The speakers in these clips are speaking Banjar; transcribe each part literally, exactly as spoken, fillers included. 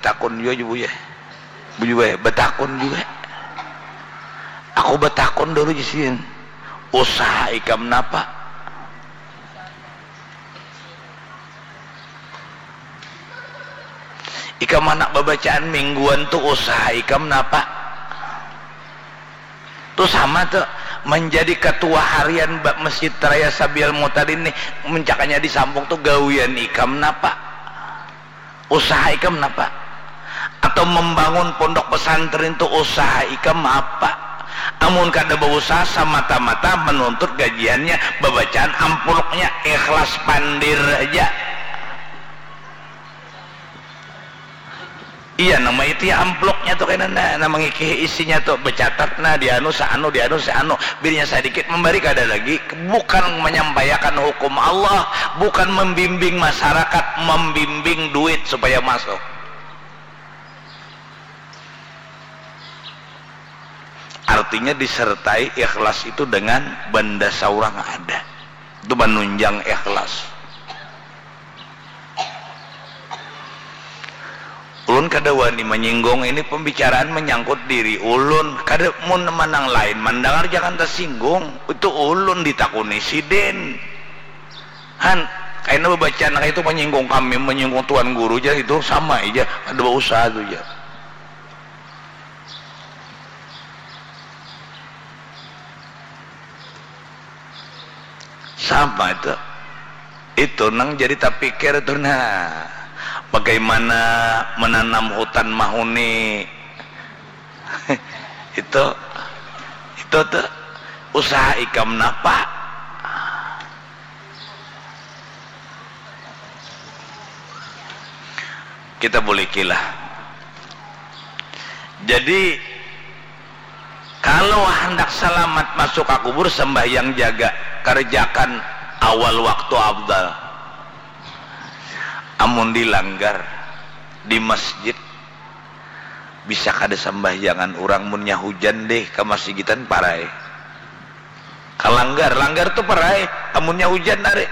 Takun jua, Buya. Buya, batakun jua. Aku batakun dulu, jar sidin. Usaha ikam napa? Ikam anak babacaan mingguan tu usaha ikam napa? Tu sama tu, manjadi katua harian ba-, Masjid Raya Sabil Mutadin nih, muncaknya di Sampung tu gawian ikam napa? Usaha ikam napa? Atau mambangun pondok pesantren tu usaha ikam apa? Amun kada bausaha, samata-mata manuntut gajiannya, babacaan ampluknya, ikhlas pandir haja. Iya, nang maitihi ampluknya tu kena, nah, nang mangikihi isinya tu, bacatat, nah, dianu saanu, dianu saanu, bilnya sadikit mambari kada lagi, bukan manyampaiakan hukum Allah, bukan mambimbing masyarakat, mambimbing duit supaya masuk. Artinya disertai ikhlas itu dengan banda saurang ada. Itu manunjang ikhlas. Ulun kada wani manyinggung, ini pambicaraan manyangkut diri ulun. Kada, mun manang lain mandangar jangan tasinggung. Itu ulun ditakuni sidin. Han, kaina babacaan kaitu manyinggung kami, manyinggung tuan guru ja, itu sama ja, kada bausaha tu ja. Sama itu. Itu nang jadi tapikir tu, nah. Bagaimana menanam hutan mahuni. Itu, itu tu usaha ikam napa? Kita bulikilah. Jadi, kalau handak salamat masuk ka kubur, sambahyang jaga, kerjakan awal waktu afdal. Amun dilanggar di masjid, bisa kada sambahyangan urang, munnya hujan deh, kamasigitan parai. Kalanggar, langgar tu parai, amunnya hujan ari.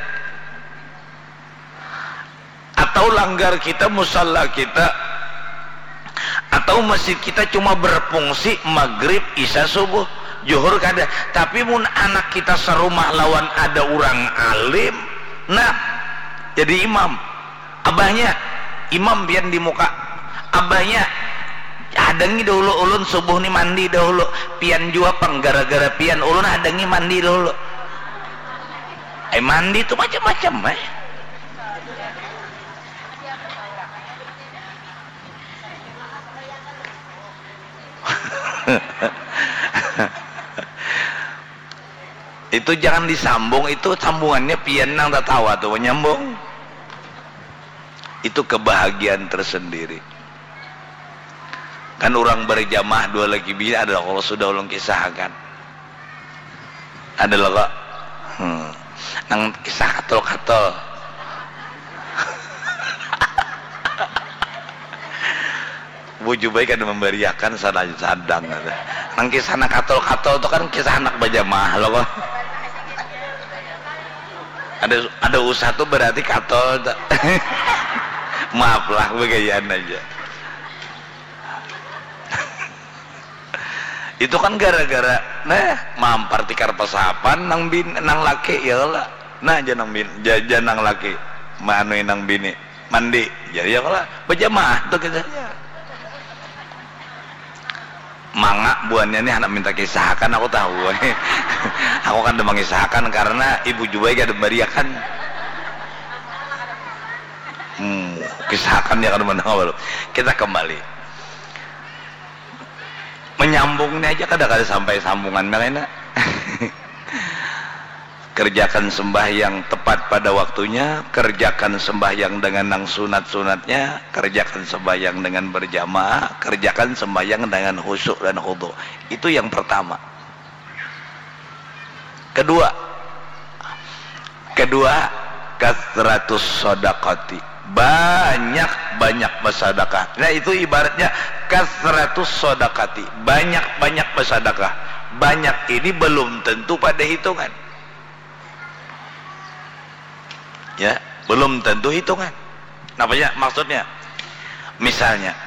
Atau langgar kita, musalla kita, atau masjid kita cuma berfungsi magrib, isya, subuh, juhur kada. Tapi mun anak kita sarumah lawan ada urang alim, nah, jadi imam. Abahnya, imam pian di muka. Abahnya, hadangi dahulu ulun subuh ni mandi dahulu. Pian jua pang, gara-gara pian ulun hadangi mandi dahulu. Eh, mandi tu macam-macam, eh. Itu jangan disambung, itu sambungannya pian nang tatawa tu manyambung. Itu kebahagiaan tersendiri. Kan urang berjamaah dua laki bini ada, kalau sudah ulun kisahkan. Ada lo kok. Hmm. Nang kisah katol-katol. Buju baik ada memberiakan sadang-sadang. Nang kisah anak katol-katol tu kan kisah anak bajamaah lo kok. Ada, ada usaha tu berarti katol tu. Maaf lah, begayaan aja. Itu kan gara-gara, nah, mampar tikar pasapan nang bin, nang laki, ya lah. Nah, aja nang bin, jajan nang laki, manui nang bini, mandi, jadi ya lah, berjamaah tuh kisahnya. Manga buannya nih anak minta kisahakan, aku tahu. Aku kan udah mengisahkan karena ibu juga ada bariakan. Hmm, kisahakan dia kan menang baru. Kita kembali. Menyambung ini aja kada kada sampai sambungan mereka. Kerjakan sembahyang tepat pada waktunya, kerjakan sembahyang dengan nang sunat-sunatnya, kerjakan sembahyang dengan berjamaah, kerjakan sembahyang dengan khusyuk dan khudu. Itu yang pertama. Kedua, kedua, kasratus sodakati, banyak-banyak bersedekah. Nah, itu ibaratnya kasratus sodakati, banyak-banyak bersedekah. Banyak ini belum tentu pada hitungan. Ya, belum tentu hitungan. Napa ya maksudnya? Misalnya,